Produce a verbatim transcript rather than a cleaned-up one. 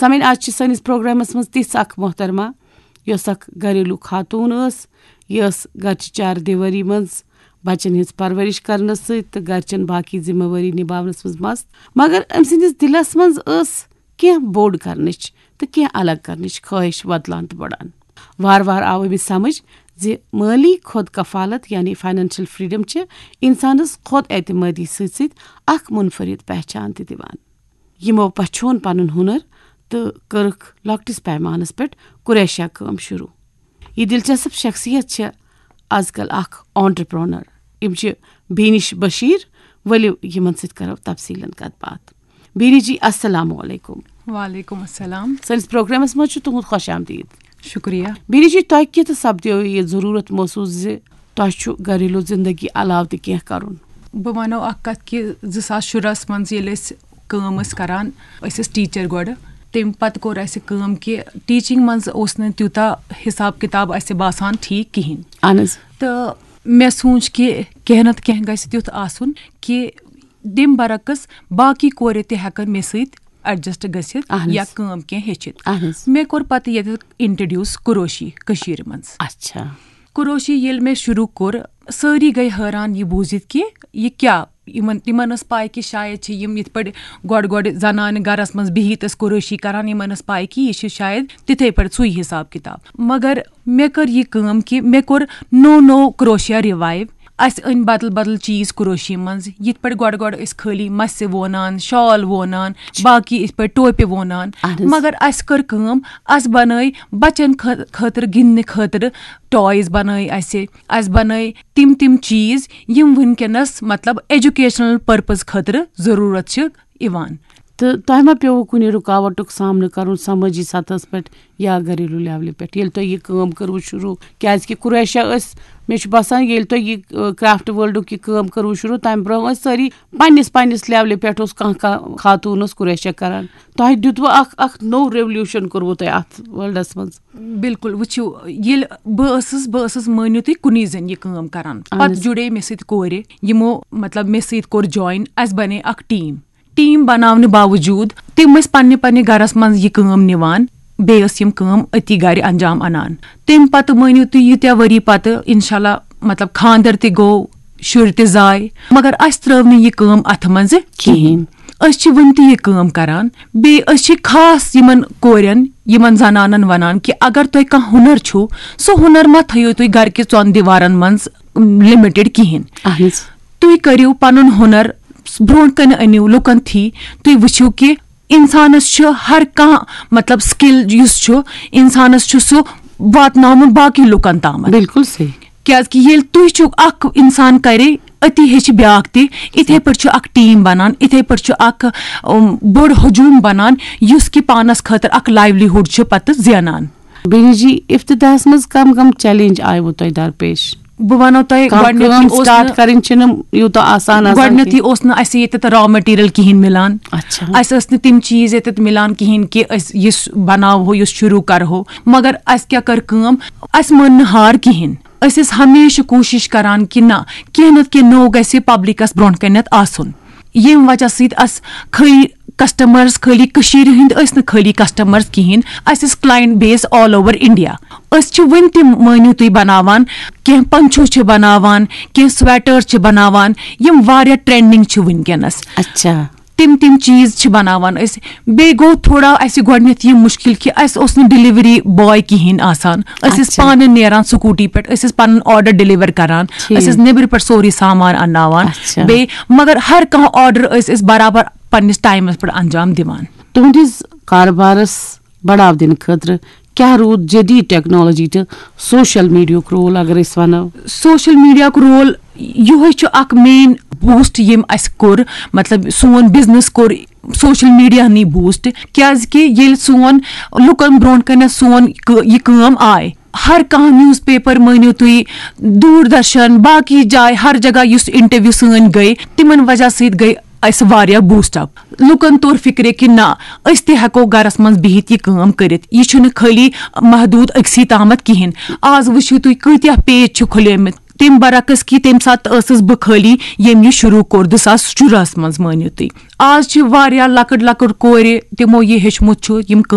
سامعین، آز چھِ سٲنِس پروگرامس منٛز تِژھ اکھ محترمہ، یۄس اکھ گھریلو خاتون ٲس، یۄس گھرچہِ چار دیوٲری منٛز بچن ہٕنٛز پرورش کرنس سۭتۍ تہٕ گھرچٮ۪ن باقی ذمہٕ وٲری نباونس منٛز مست۔ مگر أمۍ سٕنٛدِس دِلس منٛز ٲس کینٛہہ بوٚڑ کرنٕچ تہٕ کینٛہہ الگ کرنٕچ خٲہِش وۄتلان تہٕ بڑان۔ وارٕ وارٕ آو أمِس سمجھ زِ مٲلی خود کفالت یعنی فاینانشل فریڈم چھِ انسانس خود اعتمٲدی سۭتۍ سۭتۍ اکھ منفرد پہچان تہِ دِوان۔ یِمو پچھون پنُن ہُنر تہٕ کٔرٕکھ لۄکٹِس پیمانس پٮ۪ٹھ کُریشہ کٲم شروع۔ یہِ دلچسپ شخصیت چھےٚ از کل اکھ آنٹرپرونر۔ یِم چھِ بینش بشیر۔ ؤلِو یِمن سۭتۍ کرو تفصیلن کتھ باتھ۔ بینش جی، السلام علیکم۔ وعلیکم السلام۔ سٲنِس پروگرامس منٛز چھُ تُہُنٛد خۄش آمدید۔ شُکریہ۔ بینش جی، تۄہہِ کِتھ سپدیو یہِ ضروٗرت محسوس زِ تۄہہِ چھُ گھریلو زندگی علاوٕ تہِ کینٛہہ کرُن؟ بہٕ وَنو اَکھ کَتھ کہِ زٕ ساس شُراہَس منٛز ییٚلہِ أسۍ کٲم ٲسۍ کَران، أسۍ ٲسۍ ٹیٖچَر گۄڈٕ، تَمہِ پَتہٕ کوٚر اَسہِ کٲم کہِ ٹیٖچِنٛگ منٛز اوس نہٕ تیوٗتاہ حِساب کِتاب اَسہِ باسان ٹھیٖک کِہیٖنۍ۔ اہن حظ۔ تہٕ مےٚ سوٗنٛچ کہِ کینٛہہ نَتہٕ کینٛہہ گژھِ تیُتھ آسُن کہِ تَمہِ برعکس باقٕے کورِ تہِ ہٮ۪کَن مےٚ سۭتۍ ایڈجسٹ گٔژھِتھ اہن حظ۔ یا کٲم کینٛہہ ہیٚچھِتھ۔ اہن حظ۔ مےٚ کوٚر پَتہٕ ییٚتہِ اِنٹرڈیوٗس کُروشی کٔشیٖرِ منٛز۔ اچھا۔ کُروشی ییٚلہِ مےٚ شروٗع کوٚر، سٲری گٔے حٲران یہِ بوٗزِتھ کہِ یہِ کیٛاہ، یِمن تِمن ٲس پاے کہِ شاید چھِ یِم یِتھ پٲٹھۍ گۄڈٕ گۄڈٕ زنانہٕ گرس منٛز بِہِتھ ٲسۍ کُروشی کران، یِمن ٲس پاے کہِ یہِ چھِ شاید تِتھے پٲٹھۍ سُے حساب کِتاب۔ مگر مےٚ کٔر یہِ کٲم کہِ مےٚ کوٚر نوٚو نوٚو کروشیا ریوایو۔ اسہِ أنۍ بدل بدل چیٖز کروشی منٛز، یِتھ پٲٹھۍ گۄڈٕ گۄڈٕ ٲسۍ خٲلی مسہِ وونان، شال وونان، باقٕے یِتھ پٲٹھۍ ٹوپہِ وونان۔ اہن حظ۔ مگر اسہِ کٔر کٲم، اسہِ بنٲے بچن خٲ- خٲطرٕ گِنٛدنہٕ خٲطرٕ ٹایز بنٲے اسہِ، اسہِ بنٲے تِم تِم چیٖز یِم وٕنکیٚنس مطلب ایجوکیشنل پرپز خٲطرٕ ضروٗرت چھِ یِوان۔ تہٕ تۄہہِ ما پیوٚوُ کُنہِ رُکاوٹُک سامنہٕ کرُن سمٲجی سطحس پٮ۪ٹھ یا گھریلو لیولہِ پٮ۪ٹھ ییٚلہِ تۄہہِ یہِ کٲم کٔروٕ شروٗع؟ کیازِ کہِ کُریشہ ٲسۍ، مےٚ چھُ باسان ییٚلہِ تۄہہِ یہِ کرافٹ ورلڈُک یہِ کٲم کٔروٕ شروٗع، تمہِ برونٛہہ ٲسۍ سٲری پننِس پننِس لیولہِ پٮ۪ٹھ اوس کانٛہہ کانٛہہ خاتوٗن اوس کُریشہ کران۔ تۄہہِ دیُتوٕ اکھ اکھ نوٚو ریولوشن کوٚروٕ تۄہہِ اتھ ورلڈس منٛز؟ بِلکُل، وٕچھِو، ییٚلہِ بہٕ ٲسٕس بہٕ ٲسٕس مٲنِو تُہۍ کُنی زٔنۍ یہِ کٲم کران۔ اہن پتہٕ حظ۔ جُڑے مےٚ سۭتۍ کورِ، یِمو مطلب مےٚ سۭتۍ کوٚر جوین، اسہِ بنے اکھ ٹیٖم۔ ٹیٖم بناونہٕ باوجوٗد تِم ٲسۍ پننہِ پننہِ گرس منٛز یہِ کٲم نِوان، بیٚیہِ ٲس یِم کٲم أتی گرِ انجام انان۔ تمہِ پتہٕ مٲنِو تُہۍ ییٖتیٛاہ ؤری پتہٕ انشاءاللہ مطلب خانٛدر تہِ گوٚو، شُرۍ تہِ زاے، مگر اسہِ ترٲو نہٕ یہِ کٲم اتھٕ منٛزٕ کِہیٖنۍ۔ أسۍ چھِ وُنہِ تہِ یہِ کٲم کران۔ بیٚیہِ أسۍ چھِ خاص یِمن کورٮ۪ن، یِمن زنانن ونان کہِ اگر تۄہہِ کانٛہہ ہُنر چھُو، سُہ ہُنر مہ تھٲیِو تُہۍ گرِ کہِ ژۄن دیوارن منٛز لِمِٹِڈ کِہیٖنۍ۔ اہن حظ۔ تُہۍ کٔرِو پنُن ہُنر برونٛٹھ کنہِ أنِو لُکن تھی، تُہۍ وٕچھِو کہِ انسانس چھُ ہر کانٛہہ مطلب سکل یُس چھُ انسانس چھُ سُہ واتناوُن باقٕے لُکن تامتھ۔ بالکل صحیح۔ کیازِ کہِ ییٚلہِ تُہۍ چھِو اکھ انسان کرِ، أتی ہیٚچھِ بیاکھ تہِ۔ اِتھے پٲٹھۍ چھُ اکھ ٹیٖم بنان، اِتھے پٲٹھۍ چھُ اکھ، اُم، بوٚڑ ہجوم بنان، یُس کہِ پانس خٲطرٕ اکھ لایِولی ہُڈ چھُ پتہٕ زینان۔ بینی جی، افتتاحس منٛز کم کم چیلنج آیوٕ تۄہہِ درپیش؟ بہٕ ونو تۄہہِ، کانٛہہ گۄڈٕنیتھٕے کٲم اوس سٹارٹ نہٕ کرٕنۍ چھِنہٕ یوٗتاہ آسان آسان گۄڈٕنیتھٕے کینٛہہ۔ اوس نہٕ اسہِ ییٚتٮ۪تھ را مٹیریل کِہینۍ مِلان۔ اچھا۔ اسہِ ٲسۍ نہٕ تِم چیٖز ییٚتٮ۪تھ مِلان کِہینۍ کہِ أسۍ یُس بناوہو، یُس شروٗع کرہو۔ مگر اسہِ کیٛاہ کٔر کٲم؟ اسہِ مٲن نہٕ ہار کِہینۍ۔ أسۍ ٲسۍ ہمیشہِ کوٗشِش کران کہِ نہ، کینٛہہ نتہٕ کینٛہہ نوٚو گژھِ پبلکس برونٛہہ کنٮ۪تھ آسُن۔ ییٚمہِ وجہ سۭتۍ اسہِ خٲلی کسٹمرز، خٲلی کٔشیٖرِ ہٕنٛدۍ ٲسۍ نہٕ خٲلی کسٹمرز کِہینۍ، اسہِ ٲسۍ کلاینٹ بیس آل اوور انڈیا۔ أسۍ چھِ وُنہِ تہِ، مٲنِو تُہۍ، بناوان، کینٛہہ پنچو چھِ بناوان، کینٛہہ سویٹرز چھِ بناوان، یِم واریاہ ٹرینڈنگ چھِ وٕنکیٚنس۔ اچھا۔ تِم تِم چیٖز چھِ بناوان أسۍ۔ بیٚیہِ گوٚو تھوڑا اَسہِ گۄڈٕنٮ۪تھ یہِ مُشکِل کہِ اَسہِ اوس نہٕ ڈیلیوری باے کِہینۍ آسان۔ أسۍ ٲسۍ اچھا۔ پانہٕ نیران سکوٗٹی پٮ۪ٹھ، أسۍ ٲسۍ پَنُن آرڈر ڈیلیور کران، ٹھیٖک۔ أسۍ ٲسۍ نیٚبرٕ پٮ۪ٹھ سورُے سامان اَنناوان۔ اچھا۔ بیٚیہِ مگر ہر کانٛہہ آرڈر ٲسۍ أسۍ برابر پننِس ٹایمَس پٮ۪ٹھ انجام دِوان۔ تُہنٛدِس کارٕبارس بڑاو دِنہٕ خٲطرٕ کیٛاہ روٗد جدید ٹیکنالوجی تہٕ سوشل میڈیاہُک رول، اگر أسۍ ونو؟ سوشل میڈیاہُک رول یِہوٚے چھُ اکھ مین بوٗسٹ ییٚمۍ اَسہِ کوٚر، مطلب سون بزنس کوٚر سوشل میڈیاہنٕے بوٗسٹ، کیازِ کہِ ییٚلہِ سون لُکن برونٛٹھ کنٮ۪تھ سون کٲ- یہِ کٲم آے، ہر کانٛہہ نیوز پیپر مٲنِو تُہۍ، دوٗر درشن، باقٕے جایہِ، ہر جگہ یُس انٹرویو سٲنۍ گٔے، تِمن وجہ سۭتۍ گٔے اَسہِ واریاہ بوٗسٹ اپ۔ لُکن توٚر فِکرِ کہِ نہ، أسۍ تہِ ہٮ۪کو گرس منٛز بِہِتھ یہِ کٲم کٔرِتھ۔ یہِ چھُنہٕ خٲلی محدوٗد أکسٕے تامتھ کِہینۍ۔ آز وٕچھِو تُہۍ کۭتیاہ پیج چھِ کھُلیمٕتۍ، تَمہِ برعکس کہِ تَمہِ ساتہٕ ٲسٕس بہٕ خٲلی ییٚمۍ یہِ شروٗع کوٚر زٕ ساس شُراہَس منٛز، مٲنِو تُہۍ۔ آز چھِ واریاہ لۄکٕٹ لۄکٕٹ کورِ، تِمو یہِ ہیٚچھمُت چھُ، یِم